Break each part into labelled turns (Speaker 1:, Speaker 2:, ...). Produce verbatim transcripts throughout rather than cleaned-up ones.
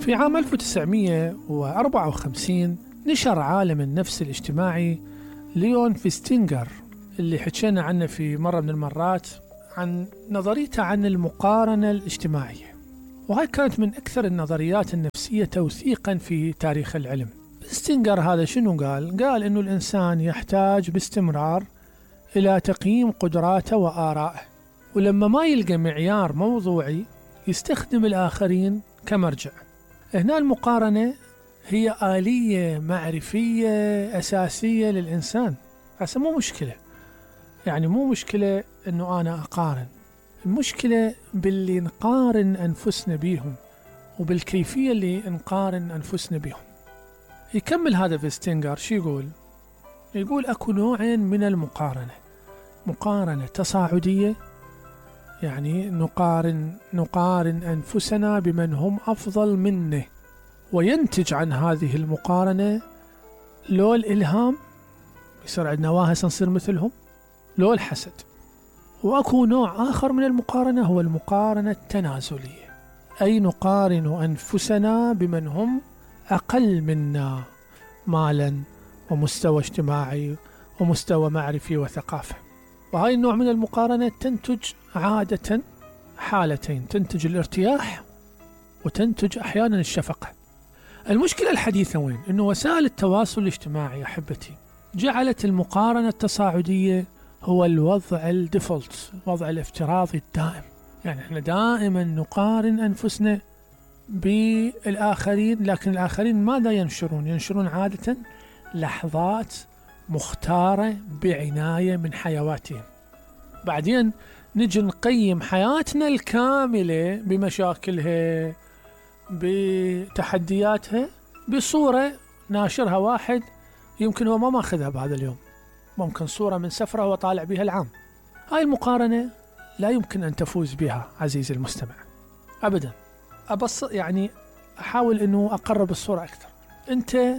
Speaker 1: في عام ألف وتسعمية وأربعة وخمسين نشر عالم النفس الاجتماعي ليون فيستينغر اللي حكينا عنه في مرة من المرات عن نظريته عن المقارنة الاجتماعية، وهاي كانت من أكثر النظريات النفسية توثيقا في تاريخ العلم. فيستينغر هذا شنو قال؟ قال إنه الإنسان يحتاج باستمرار إلى تقييم قدراته وآرائه، ولما ما يلقى معيار موضوعي يستخدم الآخرين كمرجع. هنا المقارنة هي آلية معرفية أساسية للإنسان. هسه مو مشكلة، يعني مو مشكلة أنه أنا أقارن، المشكلة باللي نقارن أنفسنا بيهم وبالكيفية اللي نقارن أنفسنا بيهم. يكمل هذا فيستينغر شو يقول؟ يقول أكو نوعين من المقارنة: مقارنة تصاعدية، يعني نقارن نقارن أنفسنا بمن هم أفضل منه، وينتج عن هذه المقارنة لو الإلهام، يصير عندنا واهس نصير مثلهم، لو الحسد. وأكو نوع آخر من المقارنة هو المقارنة التنازلية، أي نقارن أنفسنا بمن هم أقل منا مالا ومستوى اجتماعي ومستوى معرفي وثقافة. وهاي النوع من المقارنة تنتج عادة حالتين: تنتج الارتياح وتنتج أحيانا الشفقة. المشكلة الحديثة وين؟ إنه وسائل التواصل الاجتماعي أحبتي جعلت المقارنة التصاعدية هو الوضع الديفولت، الوضع الافتراضي الدائم. يعني احنا دائما نقارن أنفسنا بالآخرين، لكن الآخرين ماذا ينشرون؟ ينشرون عادة لحظات مختارة بعناية من حيواتهم. بعدين نجي نقيم حياتنا الكاملة بمشاكلها بتحدياتها بصورة ناشرها واحد يمكن هو ما ماخذها بهذا اليوم، ممكن صورة من سفرة هو طالع بها العام. هاي المقارنة لا يمكن أن تفوز بها عزيزي المستمع أبدا. أبص يعني أحاول أنه أقرب الصورة أكثر. أنت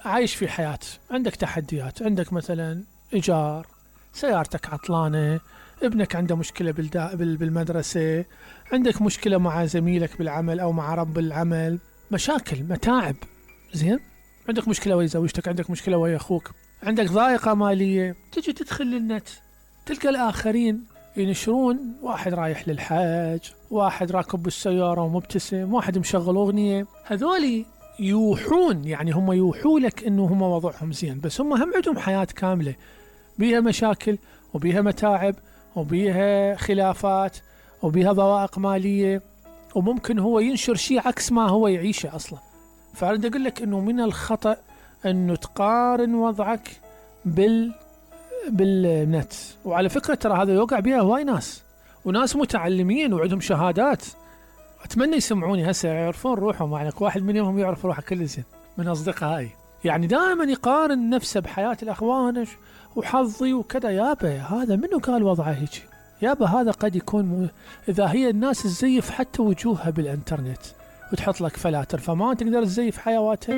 Speaker 1: عايش في حياة، عندك تحديات، عندك مثلا إيجار، سيارتك عطلانة، ابنك عنده مشكلة بالمدرسة، عندك مشكلة مع زميلك بالعمل أو مع رب العمل، مشاكل متاعب، زين؟ عندك مشكلة ويا زوجتك، عندك مشكلة ويا أخوك، عندك ضائقة مالية. تجي تدخل للنت تلقى الآخرين ينشرون واحد رايح للحج، واحد راكب بالسيارة ومبتسم، واحد مشغل أغنية. هذولي يوحون، يعني هم يوحوا لك إنه هم وضعهم زين، بس هم هم عندهم حياة كاملة بيها مشاكل وبيها متاعب وبيها خلافات وبيها ضوائق مالية، وممكن هو ينشر شيء عكس ما هو يعيشه أصلا. فأريد أقول لك إنه من الخطأ إنه تقارن وضعك بال بالنت. وعلى فكرة ترى هذا يوقع بها هواي ناس، وناس متعلمين وعندهم شهادات، أتمنى يسمعوني هسه يعرفون روحهم. يعني واحد منهم يعرف روحه كل زين من أصدقائي، يعني دائما يقارن نفسه بحياة الأخوان وحظي وكذا. يابا هذا منو قال وضعه هيك؟ يابا هذا قد يكون م... إذا هي الناس تزيف حتى وجوهها بالإنترنت وتحط لك فلاتر، فما تقدر تزيف حيواتها.